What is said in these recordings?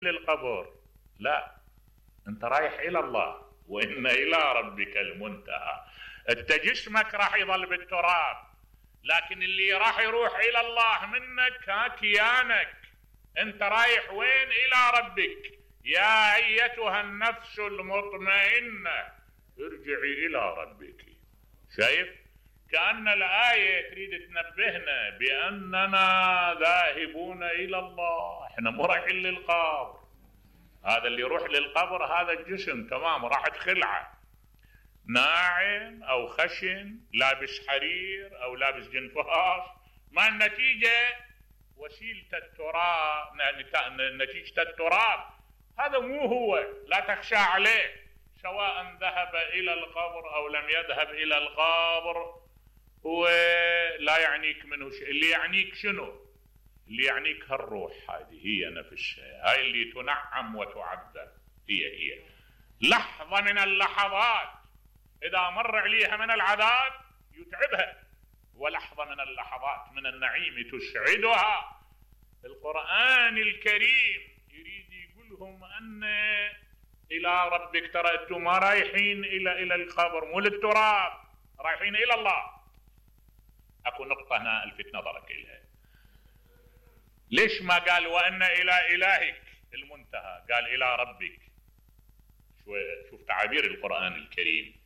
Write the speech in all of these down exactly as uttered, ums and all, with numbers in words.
للقبر، لا، انت رايح الى الله، وان الى ربك المنتهى. انت جسمك راح يظل بالتراب، لكن اللي راح يروح الى الله منك ها كيانك. انت رايح وين؟ الى ربك. يا ايتها النفس المطمئنة ارجعي الى ربك. شايف؟ كأن الآية تريد تنبهنا بأننا ذاهبون إلى الله، احنا مو رايحين للقبر. هذا اللي يروح للقبر هذا الجسم تمام راحت خلعة، ناعم أو خشن، لابس حرير أو لابس جنفاش، ما النتيجة؟ وسيلة التراب، نتيجة التراب. هذا مو هو، لا تخشى عليه، سواء ذهب إلى القبر أو لم يذهب إلى القبر، ولا يعنيك منه شيء. اللي يعنيك شنو؟ اللي يعنيك هالروح، هذه هي نفسها، هاي اللي تنعم وتعذب، هي هي لحظة من اللحظات إذا مر عليها من العذاب يتعبها، ولحظة من اللحظات من النعيم تسعدها. القرآن الكريم يريد يقولهم أن إلى ربك، ترى أنتم ما رايحين إلى إلى القبر، مو للتراب، رايحين إلى الله. أكو نقطة هنا ألفت نظرك إليها. ليش ما قال وأن إلى إلهك المنتهى؟ قال إلى ربك. شوف تعابير القرآن الكريم.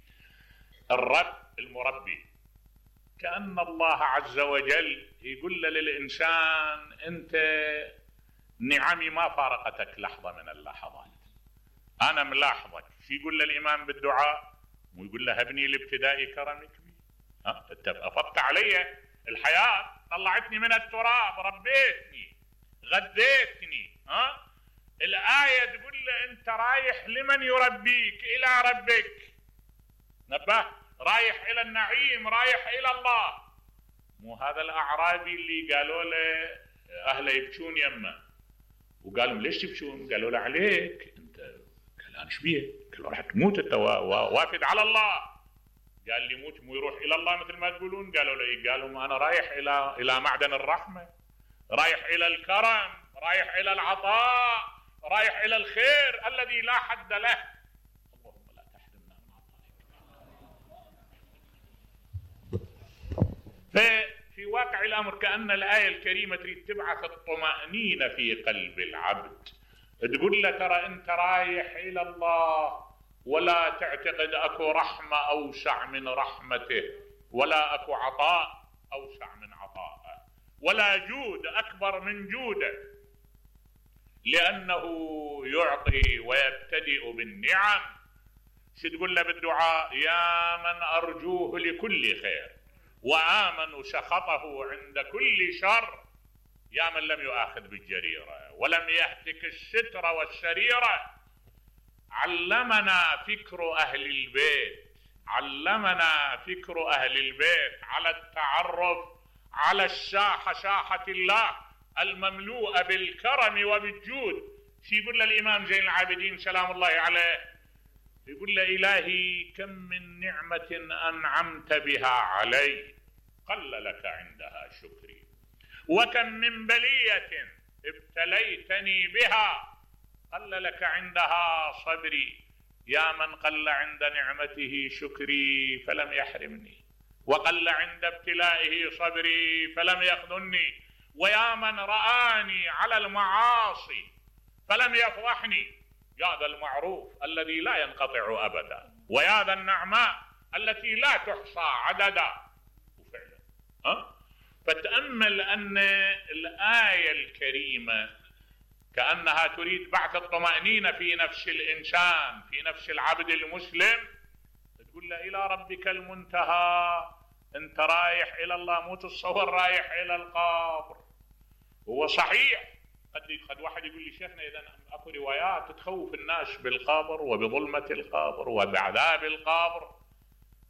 الرب المربي، كأن الله عز وجل يقول للإنسان أنت نعمي ما فارقتك لحظة من اللحظات، أنا ملاحظك. شو يقول للإمام بالدعاء؟ ويقول له هبني لابتداء كرمك بي. ها أنت أفضت علي الحياة، طلعتني من التراب، ربيتني، غذيتني. ها الآية تقول له أنت رايح لمن يربيك؟ إلى ربك. نبه، رايح إلى النعيم، رايح إلى الله. مو هذا الأعرابي اللي قالوا له أهله يبكون يمه، وقالوا ليش تبكون؟ قالوا له عليك أنت. قال أنا شبيه؟ قالوا راح تموت أنت وافد على الله. قال لي موت مو يروح إلى الله مثل ما تقولون؟ قالوا له إيه؟ قالوا ما أنا رايح إلى إلى معدن الرحمة، رايح إلى الكرم، رايح إلى العطاء، رايح إلى الخير الذي لا حد له. اللهم لا تحرمنا من عطائك. ففي واقع الأمر كأن الآية الكريمة تريد تبعث الطمأنينة في قلب العبد، تقول له ترى أنت رايح إلى الله، ولا تعتقد أكو رحمة أوسع من رحمته، ولا أكو عطاء أوسع من عطائه، ولا جود أكبر من جوده، لأنه يعطي ويبتدئ بالنعم. شو تقول له بالدعاء؟ يا من أرجوه لكل خير وآمن سخطه عند كل شر، يا من لم يؤاخذ بالجريرة ولم يهتك الستر والسريرة. علمنا فكر أهل البيت، علمنا فكر أهل البيت على التعرف على الساحة، ساحة الله المملوءة بالكرم وبالجود. شي يقول له الإمام زين العابدين سلام الله عليه؟ يقول له إلهي كم من نعمة أنعمت بها علي قل لك عندها شكري، وكم من بلية ابتليتني بها قل لك عندها صبري. يا من قل عند نعمته شكري فلم يحرمني، وقل عند ابتلائه صبري فلم يخذلني. ويا من رآني على المعاصي فلم يفضحني، يا ذا المعروف الذي لا ينقطع أبدا، ويا ذا النعماء التي لا تحصى عددا. وفعلا ها فتأمل أن الآية الكريمة كأنها تريد بعث الطمأنينة في نفس الإنسان، في نفس العبد المسلم. تقول له إلى ربك المنتهى، أنت رايح إلى الله، مو تتصور رايح إلى القبر. هو صحيح قد قد واحد يقول لي شيخنا إذا أكو روايات تخوف الناس بالقبر وبظلمة القبر وبعذاب القبر،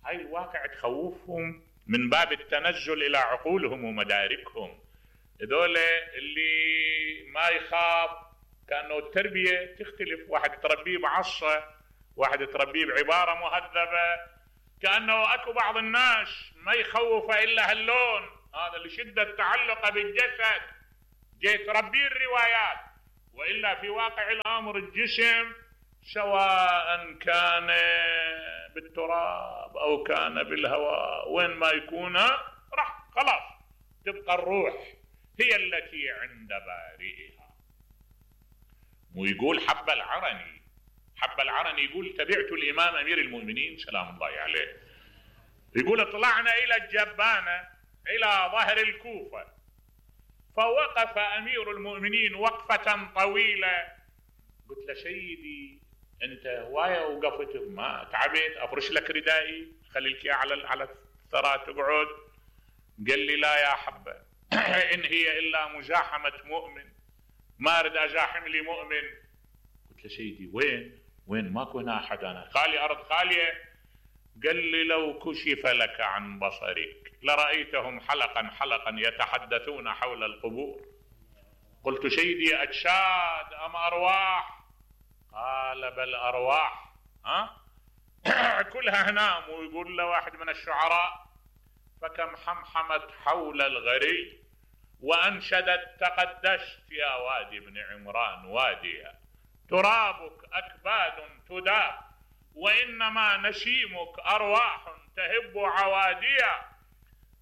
هاي الواقع تخوفهم من باب التنزل إلى عقولهم ومداركهم. هذول اللي ما يخاف، كأنه التربية تختلف، واحد تربيه بعصا، واحد تربيه بعبارة مهذبة. كأنه أكو بعض الناس ما يخوف إلا هاللون، هذا لشدة تعلق بالجسد، جاي تربيه الروايات، وإلا في واقع الأمر الجسم سواء كان بالتراب أو كان بالهواء وين ما يكون راح خلاص تبقى الروح هي التي عند بارئها. ويقول حب العرني حب العرني يقول تبعت الإمام أمير المؤمنين سلام الله عليه، يقول اطلعنا إلى الجبانة إلى ظهر الكوفة، فوقف أمير المؤمنين وقفة طويلة. قلت له سيدي أنت هواية وقفت ما تعبت أفرش لك ردائي خليك على على الثرى تقعد؟ قال لي لا يا حبة إن هي إلا مزاحمة مؤمن، ما أريد أزاحم لي مؤمن. قلت له سيدي وين وين ماكو هنا أحد، أنا خالي أرض خالية. قال لي لو كشف لك عن بصرك لرأيتهم حلقا حلقا يتحدثون حول القبور. قلت سيدي أجساد أم أرواح؟ قال بل أرواح. ها كلها هنام. ويقول له واحد من الشعراء فكم حمحمت حول الغري وأنشدت تقدشت يا وادي بن عمران واديا، ترابك أكباد تداب وإنما نسيمك أرواح تهب عواديا.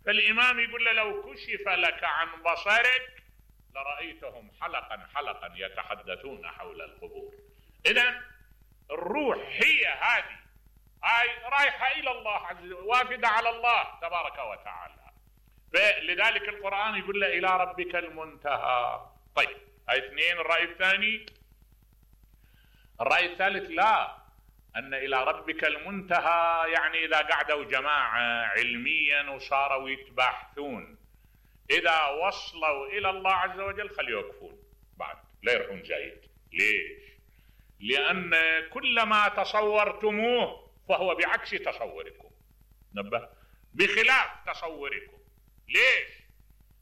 فالإمام يقول له لو كشف لك عن بصرك لرأيتهم حلقا حلقا يتحدثون حول القبور. إذن الروح هي هذه هاي رايحة إلى الله عز وجل وافدة على الله تبارك وتعالى. فلذلك القرآن يقول له إلى ربك المنتهى. طيب هاي اثنين. الرأي الثاني الرأي الثالث لا، أن إلى ربك المنتهى يعني إذا قعدوا جماعة علميا وصاروا يتباحثون إذا وصلوا إلى الله عز وجل خلي يوقفون بعد لا يروحون زايد. ليش؟ لأن كل ما تصورتموه فهو بعكس تصوركم، نبه بخلاف تصوركم. ليش؟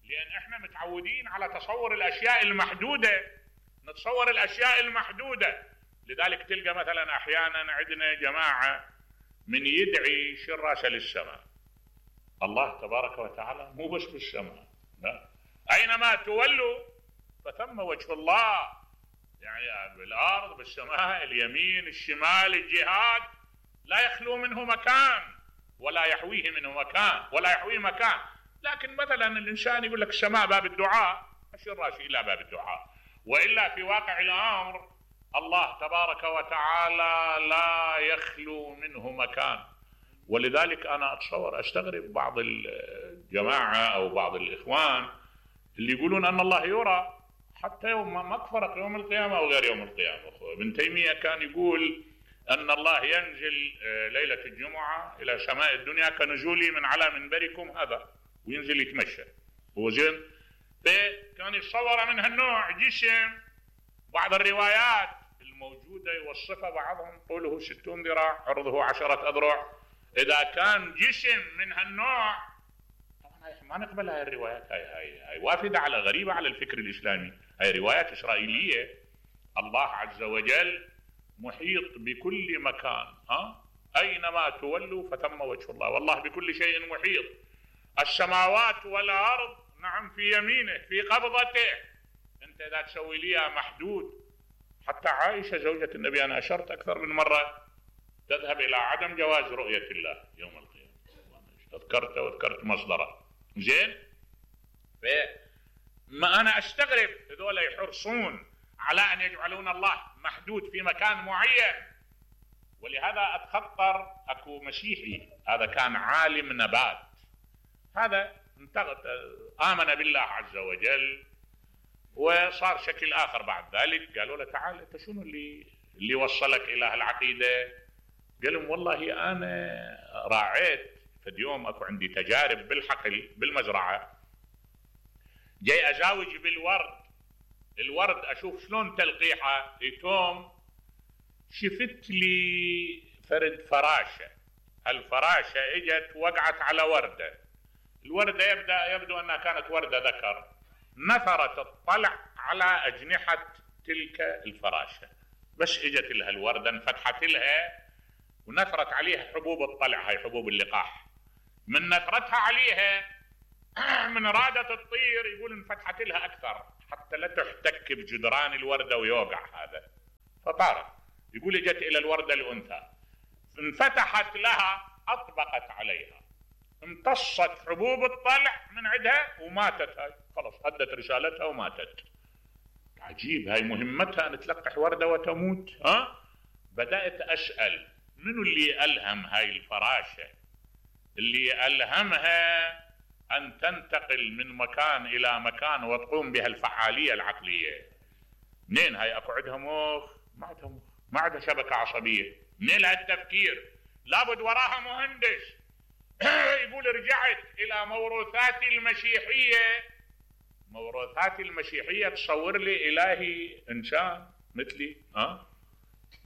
لأن احنا متعودين على تصور الأشياء المحدودة، نتصور الأشياء المحدودة. لذلك تلقى مثلا أحيانا عندنا جماعة من يدعي شراسة للسماء. الله تبارك وتعالى مو بس بالسماء، لا، أينما تولوا فثم وجه الله، يعني بالأرض بالسماء اليمين الشمال الجهات لا يخلو منه مكان ولا يحويه منه مكان ولا يحويه مكان. لكن مثلا الإنسان يقول لك السماء باب الدعاء، أشر راسي إلى باب الدعاء، وإلا في واقع الأمر الله تبارك وتعالى لا يخلو منه مكان. ولذلك أنا أتصور أستغرب بعض الجماعة أو بعض الإخوان اللي يقولون أن الله يرى حتى يوم ما فرق يوم القيامة أو غير يوم القيامة. ابن تيمية كان يقول أن الله ينزل ليلة الجمعة إلى سماء الدنيا كنزولي من على منبركم هذا، وينزل يتمشى هو زين. فكان يتصور من هالنوع جسم. بعض الروايات الموجودة يوصفها بعضهم طوله ستون ذراع عرضه عشرة أذرع. إذا كان جسم من هالنوع طبعا ما نقبل هاي الروايات، هاي هاي هاي وافدة على غريبة على الفكر الإسلامي، هاي روايات إسرائيلية. الله عز وجل محيط بكل مكان، ها أينما تولوا فثم وجه الله، والله بكل شيء محيط. السماوات والأرض نعم في يمينه في قبضته. أنت إذا تسوي ليها محدود، حتى عائشة زوجة النبي أنا أشرت أكثر من مرة تذهب إلى عدم جواز رؤية الله يوم القيامة، تذكرت وذكرت مصدره زين. فما أنا أستغرب هذول يحرصون على أن يجعلون الله محدود في مكان معين. ولهذا أتخطر أكو مسيحي هذا كان عالم نبات، هذا آمن بالله عز وجل وصار شكل آخر بعد ذلك. قالوا له تعال أنت شنو اللي اللي وصلك إلى هالعقيدة؟ قال لهم والله أنا راعيت في اليوم أكو عندي تجارب بالحقل بالمزرعة، جاي أزاوج بالورد، الورد أشوف شلون تلقيحه يتوم، شفت لي فرد فراشة، الفراشة اجت وقعت على وردة، الوردة يبدأ يبدو أنها كانت وردة ذكر، نثرت الطلع على أجنحة تلك الفراشة، بس اجت لها الوردة انفتحت لها ونثرت عليها حبوب الطلع، هاي حبوب اللقاح، من نثرتها عليها من رادة الطير يقول انفتحت لها أكثر حتى لا تحتك بجدران الوردة ويوقع هذا. فطارت. يقول اجت الى الوردة الانثى، انفتحت لها، اطبقت عليها، امتصت حبوب الطلع من عندها وماتت. هاي خلاص ادت رسالتها وماتت. عجيب، هاي مهمتها ان تلقح وردة وتموت. ها بدأت اسأل منو اللي الهم هاي الفراشة، اللي الهمها ان تنتقل من مكان الى مكان وتقوم بها الفعالية العقلية؟ منين هاي؟ اكو عندها مخ؟ ما عندها مخ، ما عندها شبكة عصبية، منين لها التفكير؟ لابد وراها مهندس. يقول رجعت الى موروثاتي المسيحية. موروثاتي المسيحية تصور لي الهي انسان مثلي، ها؟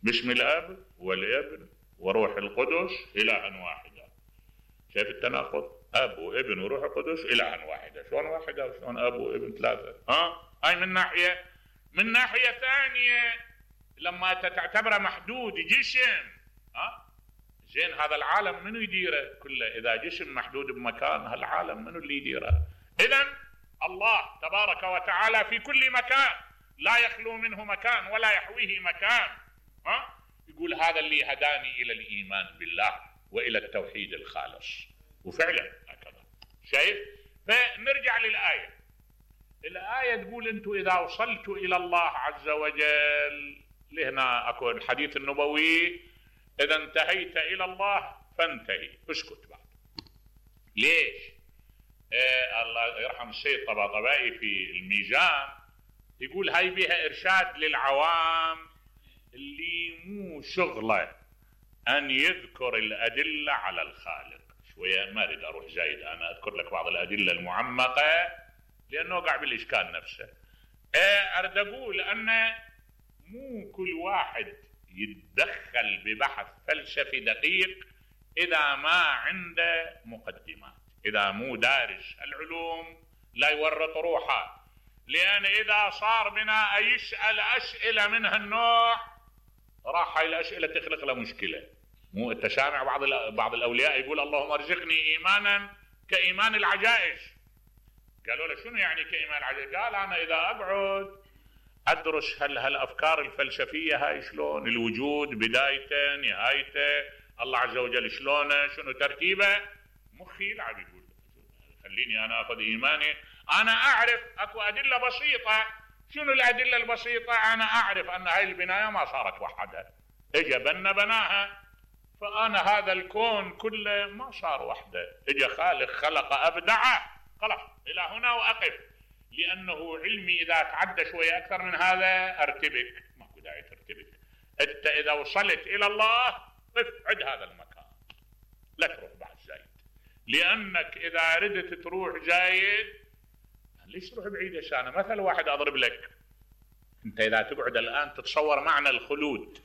باسم الاب والابن وروح القدس الها واحدة. شايف التناقض؟ اب وابن وروح القدس الها واحدة. شلون واحدة وشلون اب وابن ثلاثة؟ ها؟ هاي من ناحية. من ناحية ثانية لما تعتبره محدود جسم، ها؟ زين هذا العالم منو يديره كله؟ اذا جسم محدود بمكان، هالعالم منو اللي يديره؟ اذا الله تبارك وتعالى في كل مكان، لا يخلو منه مكان ولا يحويه مكان. ها؟ يقول هذا اللي هداني الى الايمان بالله والى التوحيد الخالص. وفعلا هكذا. شايف؟ فنرجع للآية. الآية تقول انتم اذا وصلتوا الى الله عز وجل، لهنا اكو الحديث النبوي اذا انتهيت الى الله فانتهي، اسكت بعد. ليش؟ آه الله يرحم السيد طباطبائي في الميزان يقول هاي بها ارشاد للعوام اللي مو شغله ان يذكر الادله على الخالق. شويه ما اريد اروح زايد، انا اذكر لك بعض الادله المعمقه لانه وقع بالاشكال نفسه. آه اريد اقول ان مو كل واحد يتدخل ببحث فلسفي دقيق اذا ما عنده مقدمات، اذا مو دارس العلوم لا يورط روحه. لان اذا صار بنا يسال اسئله من هالنوع راح هاي الاسئله تخلق له مشكله. مو انت سامع بعض بعض الاولياء يقول اللهم ارزقني ايمانا كايمان العجائز. قالوا له شنو يعني كايمان العجائز؟ قال انا اذا اقعد ادرس هل هالافكار الفلسفيه هاي شلون، الوجود بدايته نهايته، الله عز وجل شلونه، شنو ترتيبه، مخي يلعب. يقول خليني انا اخذ ايماني، انا اعرف اكو ادله بسيطه. شنو الادله البسيطه؟ انا اعرف ان هاي البنايه ما صارت وحدها، اجى بنا بناها. فانا هذا الكون كله ما صار وحده، اجى خالق خلق ابدعه. خلاص الى هنا واقف، لانه علمي اذا تعدى شويه اكثر من هذا ارتبك. ماكو داعي ترتبك. انت اذا وصلت الى الله قف عند هذا المكان، لا تروح بعد زايد. لانك اذا ردت تروح زايد ليش تروح بعيد؟ انا مثل واحد اضرب لك. انت اذا تقعد الان تتصور معنى الخلود،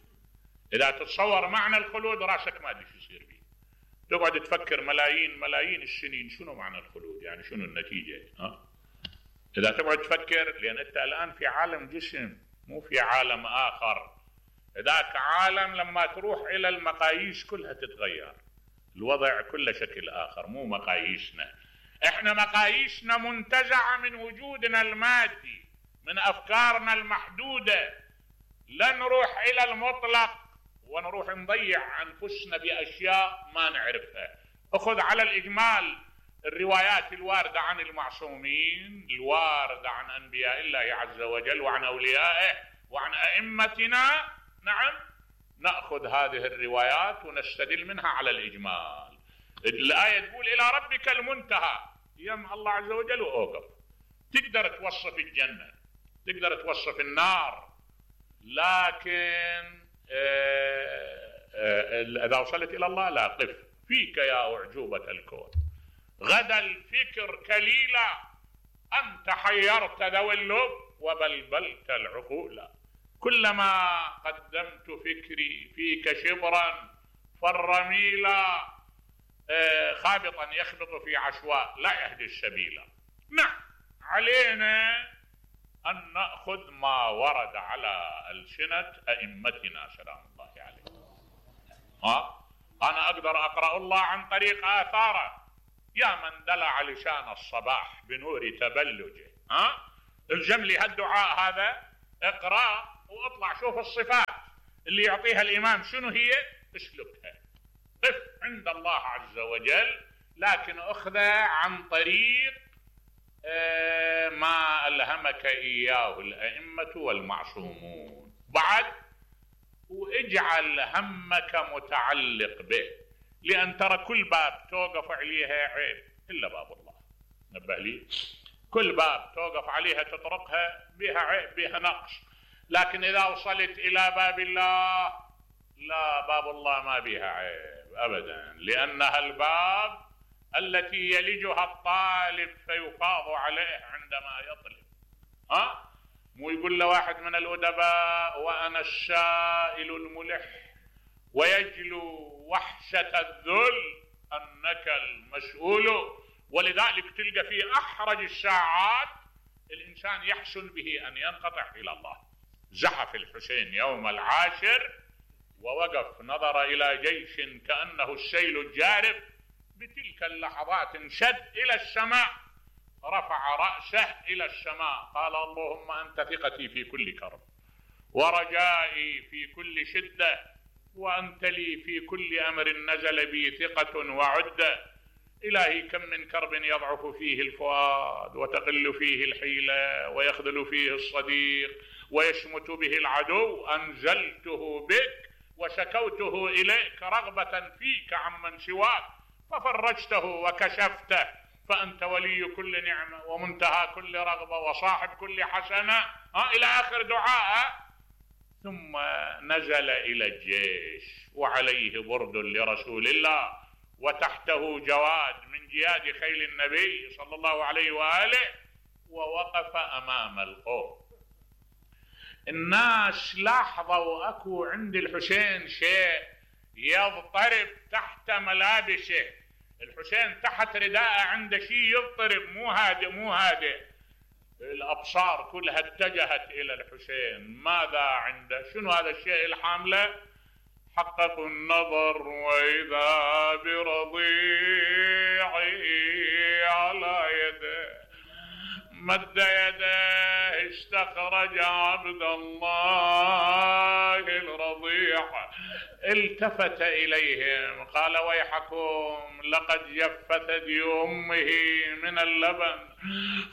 اذا تتصور معنى الخلود راسك ما ادري شو يصير فيه. تقعد تفكر ملايين ملايين السنين شنو معنى الخلود، يعني شنو النتيجه. ها اذا تقعد تفكر، لان انت الان في عالم جسم مو في عالم اخر. ذاك عالم لما تروح الى المقاييس كلها تتغير، الوضع كله شكل اخر، مو مقاييسنا. احنا مقاييسنا منتزعه من وجودنا المادي، من افكارنا المحدوده. لا نروح الى المطلق ونروح نضيع انفسنا باشياء ما نعرفها. اخذ على الاجمال الروايات الواردة عن المعصومين، الواردة عن أنبياء الله عز وجل وعن أوليائه وعن أئمتنا. نعم، نأخذ هذه الروايات ونستدل منها على الإجمال. الآية تقول إلى ربك المنتهى، يم الله عز وجل وأوقف. تقدر توصف الجنة، تقدر توصف النار، لكن إذا وصلت إلى الله لا قف. فيك يا أعجوبة الكون غدا الفكر كليلا، أنت حيرت ذوي اللب وبلبلت العقول. كلما قدمت فكري فيك شبرا فالرميلا، خابطا يخبط في عشواء لا يهدي السبيل. نعم، علينا أن نأخذ ما ورد على ألسنة أئمتنا سلام الله عليهم. ها أنا أقدر أقرأ الله عن طريق آثاره. يا من دلع لسان الصباح بنور تبلجه، ها الجم لي هالدعاء هذا، اقرأ واطلع شوف الصفات اللي يعطيها الإمام شنو هي، اسلكها، قف عند الله عز وجل، لكن أخذها عن طريق ما ألهمك إياه الأئمة والمعصومون. بعد واجعل همك متعلق به، لأن ترى كل باب توقف عليها عيب إلا باب الله، نبه لي، كل باب توقف عليها تطرقها بها عيب بها نقص، لكن إذا وصلت إلى باب الله لا، باب الله ما بها عيب أبدا، لأنها الباب التي يلجها الطالب فيفاض عليه عندما يطلب. ها مو يقول له واحد من الأدباء وأنا السائل الملح ويجلو وحشة الذل أنك المسؤول. ولذلك تلقى في أحرج الساعات الإنسان يحسن به أن ينقطع إلى الله. زحف الحسين يوم العاشر ووقف نظر إلى جيش كأنه السيل الجارف، بتلك اللحظات انشد إلى السماء، رفع رأسه إلى السماء، قال اللهم أنت ثقتي في كل كرب ورجائي في كل شدة، وأنت لي في كل أمر نزل بي ثقة وعدة. إلهي كم من كرب يضعف فيه الفؤاد وتقل فيه الحيلة ويخذل فيه الصديق ويشمت به العدو، أنزلته بك وشكوته إليك رغبة فيك عمن سواك، ففرجته وكشفته، فأنت ولي كل نعمة ومنتهى كل رغبة وصاحب كل حسنة، ها إلى آخر دعاء. ثم نزل إلى الجيش وعليه برد لرسول الله وتحته جواد من جياد خيل النبي صلى الله عليه وآله، ووقف أمام القوم. الناس لاحظوا أكو عند الحسين شيء يضطرب تحت ملابسه، الحسين تحت رداءه عنده شيء يضطرب، مو هادئ مو هادئ. الأبصار كلها اتجهت إلى الحسين، ماذا عنده؟ شنو هذا الشيء الحامله؟ حققوا النظر وإذا برضيعي على يده، مد يده استخرج عبد الله الرضيع، التفت إليهم قال ويحكم لقد جف ثدي أمه من اللبن،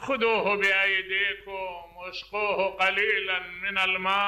خذوه بأيديكم واسقوه قليلا من الماء